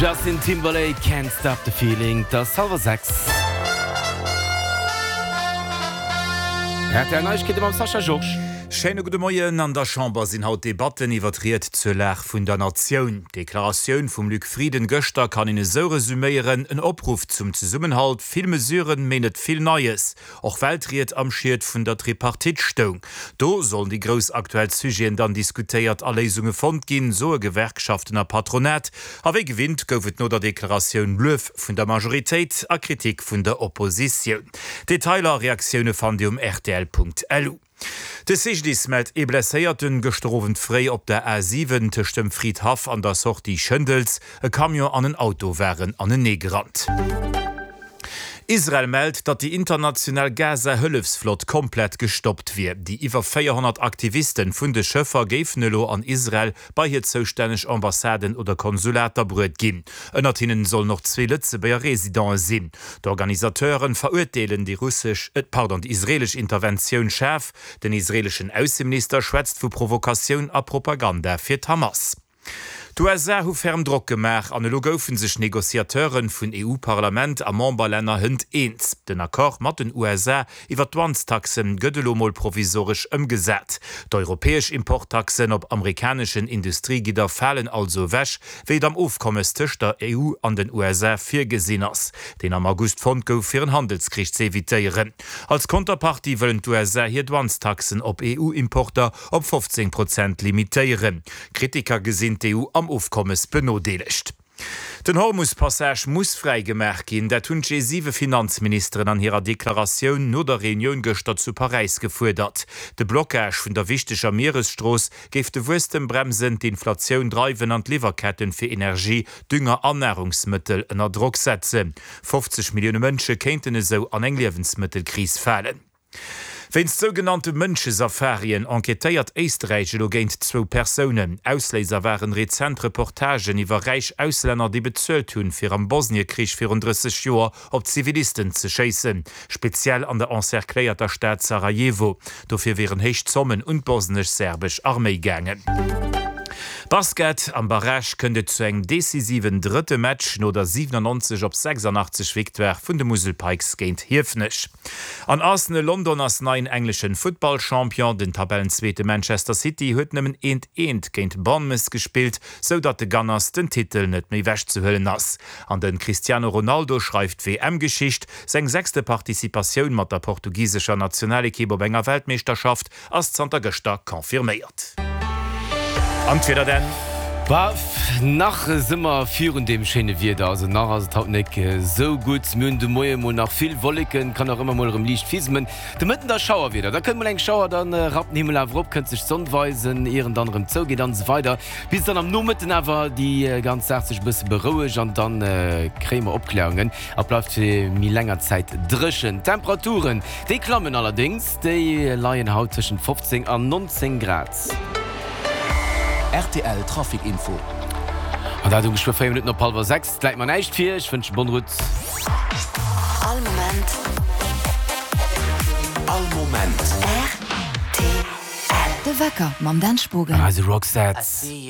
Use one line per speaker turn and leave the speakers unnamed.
Justin Timberlake, Can't Stop the Feeling, 't ass hallwer 6. Rtl Neiegkeete mam Sascha Georges.
Schéine gudde Moien. An der Chamber sinn haut Debatten iwwer d'Ried zur Lag vun der Natioun. D'Deklaratioun vum Luc Frieden gëschter kann een esou resuméieren, en Opruff zum Zesummenhalt, vill Mesuren, mee net vill Neies. Och well d'Ried am Schiet vun der Tripartite stoung. Do sollen déi grouss aktuell Sujeten dann diskutéiert a Léisunge fonnt ginn, soe Gewerkschaften a Patronat. A wéi gewinnt gouf et no der Deklaratioun Luef vun der Majoritéit a Kritik vun der Oppositioun. Detailer a Reaktioune fannt Dir um rtl.lu. De CGDIS mellt ee Blesséierten gëschter Owend fréi op der A 7 tëscht dem Fridhaff an der Sortie Schëndels. E Camion an en Auto waren aneneegerannt. Israel mellt, datt déi international Gaza-Hëllefsflott komplett gestoppt wier. Déi iwwer 400 Aktivisten vun de Schëffer géifen elo an Israel bei hir zoustänneg Ambassaden oder Konsulater bruet ginn. Ënnert hinnen sollen och zwee Lëtzebuerger Residente sinn. D'Organisateuren verurteelen déi russesch, pardon, déi israelesch Interventioun schaarf. Den israeleschen Ausseminister schwätzt vu Provokatioun a Propaganda fir d'Hamas. D'USA hu ferm Drock gemaach an elo goufe sech Negociateure vun EU-Parlament a Memberlänner hënt eens. Den Accord mat den USA iwwer d'Douanestaxe gëtt elo mol provisoresch ëmgesat. D'europäesch Importtaxen op amerikaneschen Industriegidder falen also ewech, wéi et am Ofkommes tëscht der EU an den USA virgesinn ass, deen am August fonnt gouf, fir en Handelskrich ze evitéieren. Als Konterpartie wëllen d'USA hir Douanestaxen op EU-Importer op 15 Prozent limitéieren. Kritiker gesinn d'EU am Ofkommes benodeelegt. Den Hormus-Passage muss fräi gemaach ginn, dat hunn d'G7-Finanzministeren an hirer Deklaratioun no der Reunioun gëschter zu Paräis gefuerdert. De Blockage vun der wichteger Mieresstrooss géif de Wuesstem bremsen, d'Inflatioun dreiwen an d'Liwwerketten fir Energie, Dünger an Narungsmëttel ënner Drock setzen. 50 Millioune Mënsche kéinten esou an eng Liewensmëttelkris falen. Wéinst sougenannte Mënschesafarien enquêtéiert Éisträich elo géint zwou Persounen. Ausléiser waren rezent Reportagen iwwer räich Auslänner, déi bezuelt hunn, fir am Bosniekrich virun 30 Joer op Zivilisten ze schéissen, speziell an der encercléierter Stad Sarajevo. Dofir wieren héich Zommen un d'bosnesch-serbesch Arméi gaangen. Basket, Am Barrage kënnt et zu engem decisiven drëtte Match no der 97 op 86 Victoire vun de Musel Pikes géint Hiefenech. An Arsenal London ass neien engleschen Futtballchampion. Den Tabellenzweete Manchester City huet nëmmen eent eent géint Bournemouth gespillt, sou datt de Gunners den Titel net méi wechzehuelen ass. An de Cristiano Ronaldo schreift WM-Geschicht. Seng sechste Participatioun mat der portugisescher Nationalekipp op enger Weltmeeschterschaft Ass zanter gëschter confirméiert. An d'Wieder denn?
Bof, nach si mer virun deem schéine Wieder, also nach ass et haut nek sou gutt. Mir hunn de Moie mol nach vill Wolleken, kann och ëmmer mol erëm liicht fismen. De Mëtten da Schauerwieder, da kënnt mol eng Schauer, dann rappt den Himmel awer op, kënnt sech d'Sonn weisen, ier en dann erëm zougeet an esou weider, bis dann am Nomëtten awer déi ganz Saach sech e bësse berouegt an dann kréie mer Opklärungen a bleift fir méi länger Zäit dréchen. D'Temperaturen, déi klammen allerdéngs. Déi leien haut tëschent 15 an 19 Grad.
Rtl Trafic Info.
An dat um geschwë 4 Minutten op hallwer 6. Et läit mer näischt vir. Ech wënschen bonne route.
All Moment.
All Moment.
Rtl. De Wecker mam Dan Spogen.
Eise Roxette.